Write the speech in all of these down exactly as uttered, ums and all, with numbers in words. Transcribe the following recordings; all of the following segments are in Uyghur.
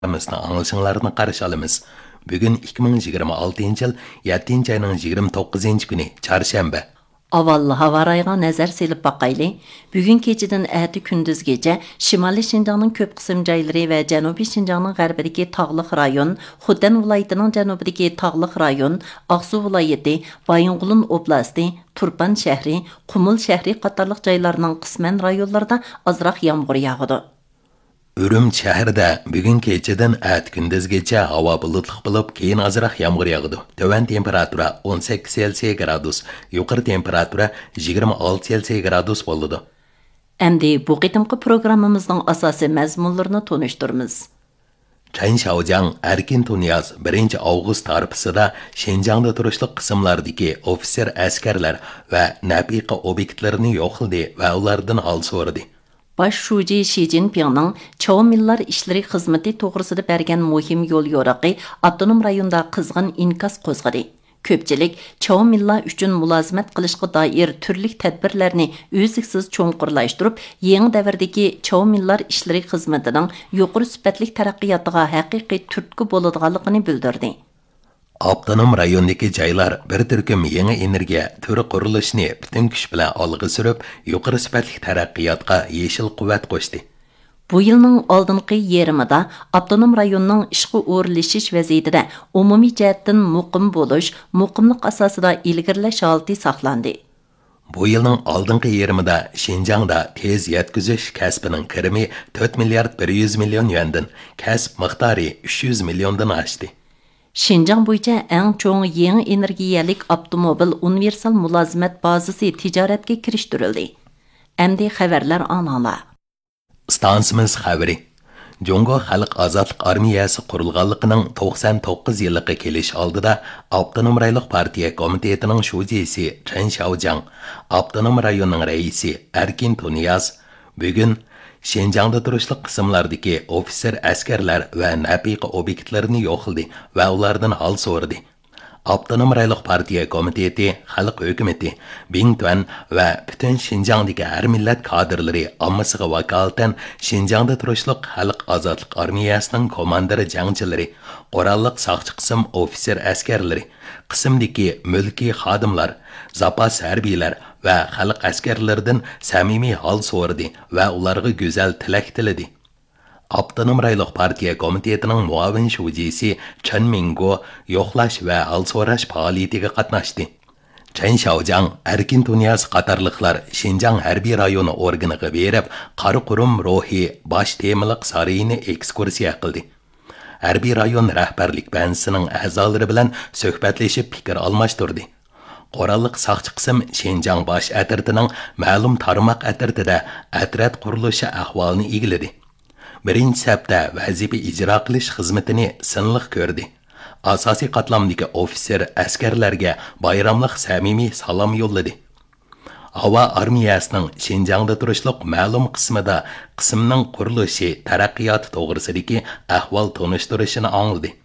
پروگراممىسىنى ئاڭلىشىڭلارنى قارشى ئالىمىز. بۈگۈن ئىككى مىڭ يىگىرمە ئالتىنچى يىل يەتتىنچى ئاينىڭ يىگىرمە توققۇزىنچى كۈنى، چارشەنبە. ئاۋۋال ھاۋا رايىغا نەزەر سېلىپ باقايلى. بۈگۈن كېچىدىن ئەتە كۈندۈزگىچە شىمالىي شىنجاڭنىڭ كۆپ قىسىم جايلىرى ۋە جەنۇبىي شىنجاڭنىڭ غەربىدىكى تاغلىق رايون، خوتەن ۋىلايىتىنىڭ جەنۇبىدىكى تاغلىق رايون، ئاقسۇ ۋىلايىتى، بايىنغولىن ئوبلاستى، تۇرپان شەھىرى، قۇمۇل شەھىرى قاتارلىق جايلارنىڭ قىسمەن رايونلىرىدا ئازراق يامغۇر ياغىدۇ. ئۈرۈمچى شەھىرىدە بۈگۈن كېچىدىن ئەتە كۈندۈزگىچە ھاۋا بۇلۇتلۇق بولۇپ، كېيىن ئازراق يامغۇر ياغىدۇ. تۆۋەن تېمپېراتۇرا ئون سەككىز سېلسىيە گرادۇس، يۇقىرى تېمپېراتۇرا يىگىرمە ئالتە سېلسىيە گرادۇس بولىدۇ. ئەمدى بۇ قېتىمقى پروگراممىمىزنىڭ ئاساسىي مەزمۇنلىرىنى تونۇشتۇرىمىز. چەن شياۋجياڭ ئەركىن تۇنىياز بىرىنچى ئاۋغۇست تارپىسىدا شىنجاڭدا تۇرۇشلۇق قىسىملاردىكى ئوفىتسېر ئەسكەرلەر ۋە نەپىقە ئوبيېكتلىرىنى يوقلىدى ۋە ئۇلاردىن ھال سورىدى. باش شۇجى شى جىنپىڭنىڭ چاۋمىنلار ئىشلىرى خىزمىتى توغرىسىدا بەرگەن مۇھىم يول يورۇقى ئاپتونوم رايوندا قىزغىن ئىنكاس قوزغىدى. كۆپچىلىك چاۋمىنلار ئۈچۈن مۇلازىمەت قىلىشقا دائىر تۈرلۈك تەدبىرلەرنى ئۈزلۈكسىز چوڭقۇرلاشتۇرۇپ، يېڭى دەۋردىكى چاۋمىنلار ئىشلىرى خىزمىتىنىڭ يۇقىرى سۈپەتلىك تەرەققىياتىغا ھەقىقىي تۈرتكە بولىدىغانلىقىنى بىلدۈردى. ئاپتونوم رايوندىكى جايلار بىر تۈركۈم يېڭى ئېنېرگىيە تۈرى قۇرۇلۇشىنى پۈتۈن كۈچ بىلەن ئالغا سۈرۈپ، يۇقىرى سۈپەتلىك تەرەققىياتقا يېشىل قۇۋۋەت قوشتى. بۇ يىلنىڭ ئالدىنقى يېرىمىدا ئاپتونوم رايوننىڭ ئىشقا ئورۇنلىشىش ۋەزىيىتىدە ئومۇمىي جەھەتتىن مۇقىم بولۇش، مۇقىملىق ئاساسىدا ئىلگىرىلەش ھالىتى ساقلاندى. بۇ يىلنىڭ ئالدىنقى يېرىمىدا شىنجاڭدا تېز يەتكۈزۈش كەسپىنىڭ كىرىمى تۆت مىليارد بىر يۈز مىليون يۈەندىن، كەسىپ مىقدارى ئۈچ يۈز مىليوندىن ئاشتى. شىنجاڭ بويىچە ئەڭ چوڭ يېڭى ئېنېرگىيەلىك ئاپتوموبىل ئۇنىۋېرسال مۇلازىمەت بازىسى تىجارەتكە كىرىشتۈرۈلدى. ئەمدى خەۋەرلەر ئاڭلاڭلار. ئىستانسىمىز خەۋىرى. جۇڭگو خەلق ئازادلىق ئارمىيەسى قۇرۇلغانلىقىنىڭ توقسان توققۇز يىللىقى كېلىش ئالدىدا ئاپتونوم رايونلۇق پارتىيە كومىتېتىنىڭ شۇجىسى چېن شياۋجياڭ، ئاپتونوم رايوننىڭ رەئىسى ئەركىن تۇنىياز بۈگۈن شىنجاڭدا تۇرۇشلۇق قىسىملاردىكى ئوفىتسېر ئەسكەرلەر ۋە نەپىقە ئوبيېكتلىرىنى يوقلىدى ۋە ئۇلاردىن ھال سورىدى. ئاپتونوم رايونلۇق پارتىيە كومىتېتى، خەلق ھۆكۈمىتى، بىڭتۈەن ۋە پۈتۈن شىنجاڭدىكى ھەر مىللەت كادىرلىرى ئاممىسىغا ۋاكالىتەن شىنجاڭدا تۇرۇشلۇق خەلق ئازادلىق ئارمىيەسىنىڭ كوماندىر جەڭچىلىرى، قوراللىق ساقچى قىسىم ئوفىتسېر ئەسكەرلىرى، قىسىمدىكى مۈلكىي خادىملار، زاپاس ھەربىيلەر ۋە خەلق ئەسكەرلىرىدىن سەمىمىي ھال سورىدى ۋە ئۇلارغا گۈزەل تىلەك تىلىدى. ئاپتونوم رايونلۇق پارتىيە كومىتېتىنىڭ مۇئاۋىن شۇجىسى چېن مىڭگو يوقلاش ۋە ھال سوراش پائالىيىتىگە قاتناشتى. چېن شياۋجياڭ، ئەركىن تۇنىياز قاتارلىقلار شىنجاڭ ھەربىي رايونى ئورگىنىغا بېرىپ، قارا قۇرۇم روھى باش تېمىلىق سارىيىنى ئېكسكۇرسىيە قىلدى. ھەربىي رايون رەھبەرلىك بەنزىسىنىڭ ئەزالىرى بىلەن سۆھبەتلىشىپ پىكىر ئالماشتۇردى. قوراللىق ساقچى قىسىم شىنجاڭ باش ئەترىتىنىڭ مەلۇم تارماق ئەترىتىدە ئەترەت قۇرۇلۇشى ئەھۋالىنى ئىگىلىدى. بىرىنچى سەپتە ۋەزىپە ئىجرا قىلىش خىزمىتىنى سىنلىق كۆردى. ئاساسىي قاتلامدىكى ئوفىتسېر ئەسكەرلەرگە بايراملىق سەمىمىي سالام يوللىدى. ھاۋا ئارمىيەسىنىڭ شىنجاڭدا تۇرۇشلۇق مەلۇم قىسمىدا قىسىمنىڭ قۇرۇلۇشى، تەرەققىياتى توغرىسىدىكى ئەھۋال تونۇشتۇرۇشىنى ئاڭلىدى.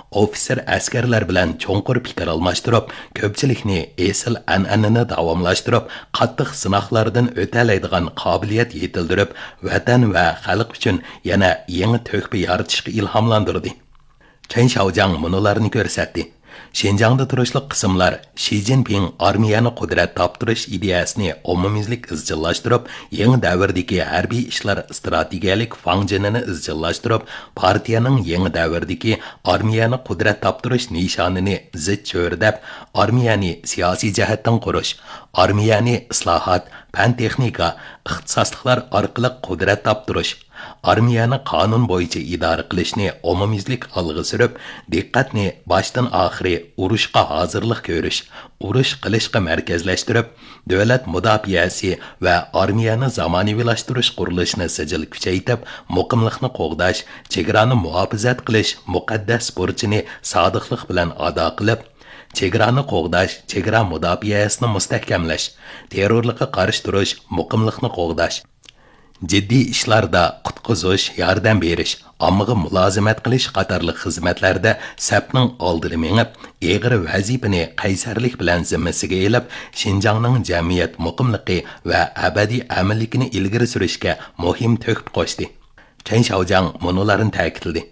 ئوفىتسېر ئەسكەرلەر بىلەن چوڭقۇر پىكىر ئالماشتۇرۇپ، كۆپچىلىكنى ئېسىل ئەنئەنىنى داۋاملاشتۇرۇپ، قاتتىق سىناقلاردىن ئۆتەلەيدىغان قابىلىيەت يېتىلدۈرۈپ، ۋەتەن ۋە خەلق ئۈچۈن يەنە يېڭى تۆھپە يارىتىشقا ئىلھاملاندۇردى. چېن شياۋجياڭ مۇنۇلارنى كۆرسەتتى. شىنجاڭدا تۇرۇشلۇق قىسىملار شى جىنپىڭ ئارمىيەنى قۇدرەت تاپتۇرۇش ئىدىيەسىنى ئومۇميۈزلۈك ئىزچىللاشتۇرۇپ، يېڭى دەۋردىكى ھەربىي ئىشلار ئىستراتېگىيەلىك فاڭجېنىنى ئىزچىللاشتۇرۇپ، پارتىيەنىڭ يېڭى دەۋردىكى ئارمىيەنى قۇدرەت تاپتۇرۇش نىشانىنى زىچ چۆرىدەپ، ئارمىيەنى سىياسىي جەھەتتىن قۇرۇش، ئارمىيەنى ئىسلاھات، پەن تېخنىكا، ئىختىساسلىقلار ئارقىلىق قۇدرەت تاپتۇرۇش، ئارمىيەنى قانۇن بويىچە ئىدارە قىلىشنى ئومۇميۈزلۈك ئالغا سۈرۈپ، دىققەتنى باشتىن ئاخىرى ئۇرۇشقا ھازىرلىق كۆرۈش، ئۇرۇش قىلىشقا مەركەزلەشتۈرۈپ، دۆلەت مۇداپىئەسى ۋە ئارمىيەنى زامانىۋىلاشتۇرۇش قۇرۇلۇشىنى سىجىل كۈچەيتىپ، مۇقىملىقنى قوغداش، چېگرانى مۇھاپىزەت قىلىش مۇقەددەس بۇرچىنى سادىقلىق بىلەن ئادا قىلىپ، چېگرانى قوغداش، چېگرا مۇداپىئەسىنى مۇستەھكەملەش، تېررورلۇققا قارشى تۇرۇش، مۇقىملىقنى قوغداش، جىددىي ئىشلاردا قۇتقۇزۇش، ياردەم بېرىش، ئاممىغا مۇلازىمەت قىلىش قاتارلىق خىزمەتلەردە سەپنىڭ ئالدىدا مېڭىپ، ئېغىر ۋەزىپىنى قەيسەرلىك بىلەن زىممىسىگە ئېلىپ، شىنجاڭنىڭ جەمئىيەت مۇقىملىقى ۋە ئەبەدىي ئەمىنلىكىنى ئىلگىرى سۈرۈشكە مۇھىم تۆھپە قوشتى. تەن شياۋجياڭ مۇنۇلارنى تەكىتلىدى.